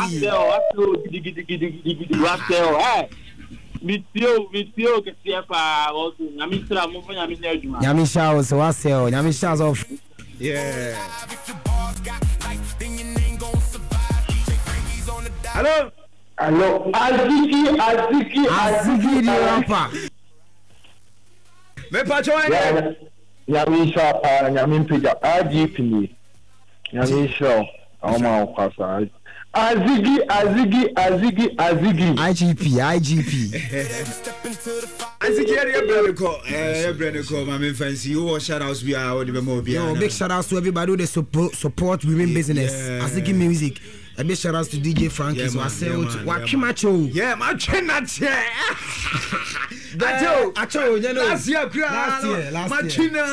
Wasɛ o, wasɛ o, gidigidigidigidi, wasɛ o, ɛ. Metie o, metie o kɛseɛ paa, wɔso, Nyame nhyira mo, momfa Nyame nyɛ adwuma. Nyame nhyira wo so, wasɛ o, Nyame nhyira wo so. Yeah. Hello. Hello, Aziki, Aziki, Aziki the rapper. Me pacho ene. Nyame nhyira paa, Nyame mpagya. IGP ni. Nyame nhyira wo. Ɔma wo kwa saa. Azigi, Azigi, Azigi, Azigi. IGP, IGP. Azigi yɛ yɛ brɛ ne kɔ, yɛ brɛ ne kɔ. Maame nfansi, wowɔ shout outs bi a wɔde bɛma obi a. Yo, big shout outs to everybody who they support, support women business. Yeah. Azigi music. A big shout out to DJ Frankie. Yeah, so I say, watch my show. Yeah, my chin, not yeah. Acho, acho, you know. Last year, last year, last year. Machina.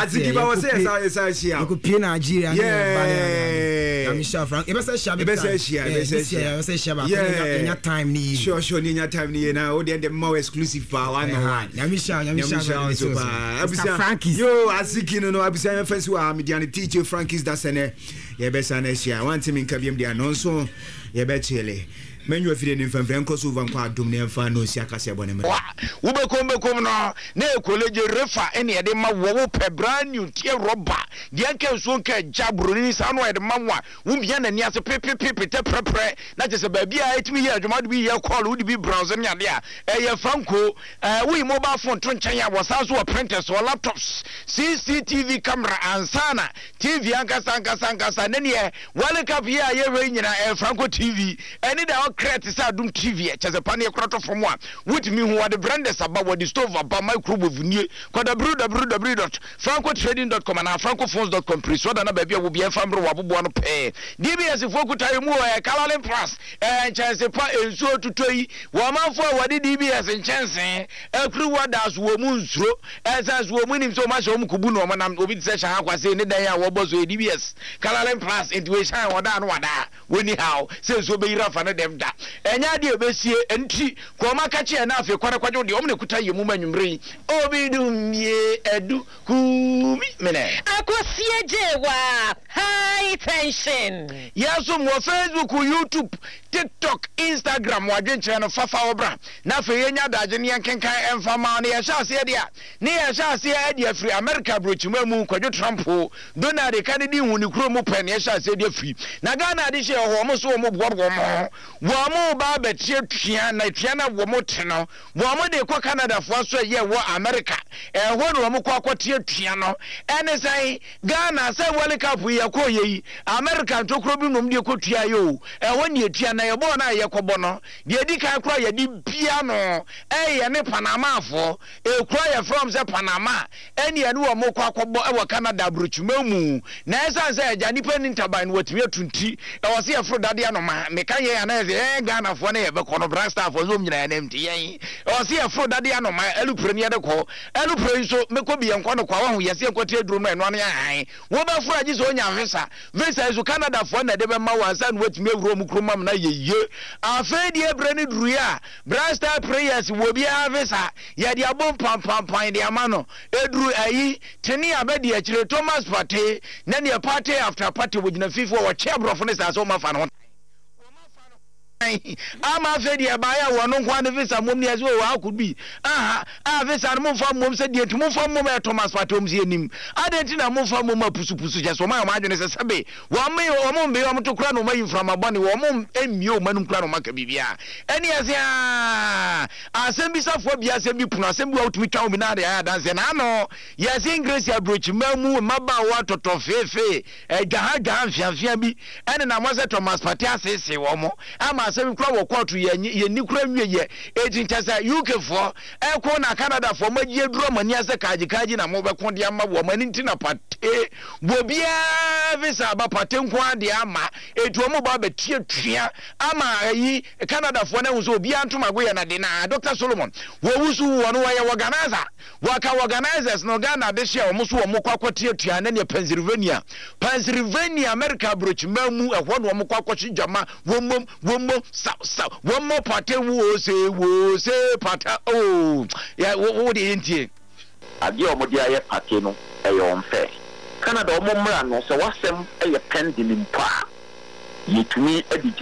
Azigi ba wase esa esa shia. You could pay Nigeria. Yeah. I'm sure Frank. Ebese shia. Ebese shia. Ebese shia. Ebese shia. Yeah. Nya time ni. Sure, sure. Nya time ni na. O de more exclusive pa one on one. Nyame shia, nyame shia. So pa. Mr. Frankie's. Yo, Azigi no no. Abisa me fensi wa me diane teacher Frankie's da sene. Yɛbɛsan ahyia. Wante me nka biam deɛ ano nso yɛbɛkyele. Mɛnyo afidie no mfɛmfrɛ nkɔ so over nkɔ adom na yɛmfa no nsi akaseɛ bɔ ne mmerɛ. Wa wobɛkom bɛkom no na ɛyɛ kolegye refa ɛne yɛde ma wɔ wo pɛ brand new teɛ rɔba deɛ nka nsuo nka agya broni saa no a yɛde ma wo a wo mia n'ani ase pepepe petɛ prɛprɛ na kyɛ sɛ baabi a ɛtumi yɛ adwuma wode bi yɛ call wode bi browse ne adeɛ a ɛyɛ franco ɛɛ woyi mobile phone to nkyɛn a wɔsan so wɔ printers wɔ laptops CCTV camera ansana TV ankasa ankasa ankasa ne neɛ World Cup yi a yɛhwɛ yi nyinaa ɛyɛ Franco TV ɛne da ɔkra te sɛ Adom TV kyɛ sɛ paneɛ kora tɔ fam a wotumi hu wɔde blenders aba wɔde stove aba microwave nie kɔ www.francotrading.com anaa francophones.com pere so da na baabi a wo bia ɛmfa mmerɛ wɔ aboboa no pɛɛ DBS foɔ kuta yɛ mu wɔ ɛyɛ Kalalin Plus ɛyɛ nkyɛnse pa nsuo tutɔ yi wɔ amanfoɔ a wɔde DBS nkyɛnse akuriwa da so wɔ mu nsuro Ɛsan so wɔn nim sɛ wɔn ahyɛ wɔn kubu na wɔn nam obi te sɛ Shaha Kwasey ne dan a wɔbɔ so yɛ DBS Kalalin Plus nti wei hyɛn wɔda ano wadaa wɔnni haw sɛ nsuo bɛyiri afa ne dɛm da ɛnyɛ adeɛ a ɛbɛsie nti kɔ wɔn akakye ɛna afei kɔ na kɔgye wo deɛ wɔn na ɛkuta yɛ mu ma anwummerɛ yi obi dum yie adu kumi menɛ. Akosie Gyewa high tension. Yɛsom wɔ Facebook, YouTube, TikTok, Instagram wɔ adwenkyerɛ no fa fa wo bra na afei yɛnya adagye ne yɛnkenkan ɛmfa mma wo na yɛhyɛ aseɛ deɛ a ne yɛhyɛ aseɛ adi afiri America aburokyima mu Kwadwo Trump o Donald ka ne din hu ne kuro mu pɛ ne yɛhyɛ aseɛ de afiri na Ghana ade hyɛ hɔ wɔn so wɔn boa wɔn ho wɔn ba abɛteɛ tua na tua na wɔn te no wɔn de kɔ Canada foɔ so ɛyɛ wɔ America ɛhɔ na wɔn kɔ akɔteɛ tua no ɛne sɛn Ghana sɛ World Cup yi yɛkɔɔ yɛ yi America ntokuro bi nom deɛ kɔtua yɛ o ɛhɔ ne yɛtua na yɛbɔɔ no a yɛkɔbɔ no deɛ ɛdi kan koraa yɛde bia no ɛyɛ ne Panamafoɔ ekuro a yɛfrɛ wɔn sɛ Panama ɛne ɛne wɔn kɔ akɔbɔ ɛwɔ Canada aburokyima mu na ɛsan sɛ agya nipa ni ntaban no wɔtumi atu nti ɛwɔ sɛ yɛforo dadeɛ anoma meka yɛn anaa yɛsɛ yɛn Ghanafoɔ ne yɛbɛkɔ no Black-Starfoɔ nso wɔn nyinaa yɛn nti yɛn ɛwɔ sɛ yɛforo dadeɛ anoma ɛlupere ne yɛde kɔ Ɛno pere nso mekɔ bi yɛnkɔ no kwa wahu yɛse yɛnkɔ te aduro no ɛno ano yɛ hann wobɛforo agye sɛ onya visa visa yi so Canada foɔ na ɛde bɛma wo ansa na watumi awura wɔn kurom amena yɛ yie afei deɛ berɛ no duruiɛ a Bright Star Prayers wɔ obiara visa yɛde abom pampampan de ama no ɛduru ayi tene abɛdi akyire Thomas Partey na neɛ party after party wɔgyina fifi wɔ wɔkye aborɔfo no saa sɛ wɔmafa no ho Ama afei deɛ ɛbaeɛ a wɔn nko ara ne visa mmom ne ɛsɛ o how could be aha a visa no momfa mmom sɛ deɛ nti momfa mmom ɛyɛ Thomas Partey wɔn sɛ yɛnim adɛn nti na momfa mmom apusupusu kyɛ sɛ wɔn ayɛ wɔn adwene sɛ sɛbe wɔn wɔn mbee wɔn to kora na wɔn ayi mframa bɔne wɔn mmie wɔn anum kora na wɔn aka biribiara ɛne ɛsɛ a asɛm bi safoa bi asɛm bi pono asɛm bi wa wotumi twa wɔn bi na ade ayɛ adanseɛ na ano yɛse English aburokyima mu mmabaawa tɔtɔ feefee Adwaha-dwaha mfeamfea bi nenam hɔ sɛ Thomas Partey aseesee wɔn ama asɛm yi kura wɔ kɔɔto yɛnni kura nwieɛ. Enti nkyɛ sɛ UK foɔ ɛko na Canada foɔ moagye aduru ɔmo ani ase kaagye kaagye na mobɛko de ama wɔn ɛno nti na Partey wɔ biara visa aba Partey nko ara deɛ ama enti wɔn ba abɛtuatua ama ayi Canada foɔ no ahu sɛ obiara ntomago yɛ nade na Dr Solomon wɔwusu wɔn wɔyɛ wɔganasa. Wɔka organisers no Ghana adehye a wɔn so wɔn kɔ akɔtuatua ne neɛ Pennsylvania, Pennsylvania America aburokyiman mu ɛhɔ na wɔn kɔ akɔhye gyama wɔn mmom wɔn mmom saw saw wɔn mmɔ pate woo se woo se pata oo yɛ wo wo deɛ yɛntie. Adeɛ a wɔde ayɛ pate no ɛyɛ unfair. Canada wɔn mmra no sɛ w'asɛm yɛ pending mpo a yɛtumi de gyina.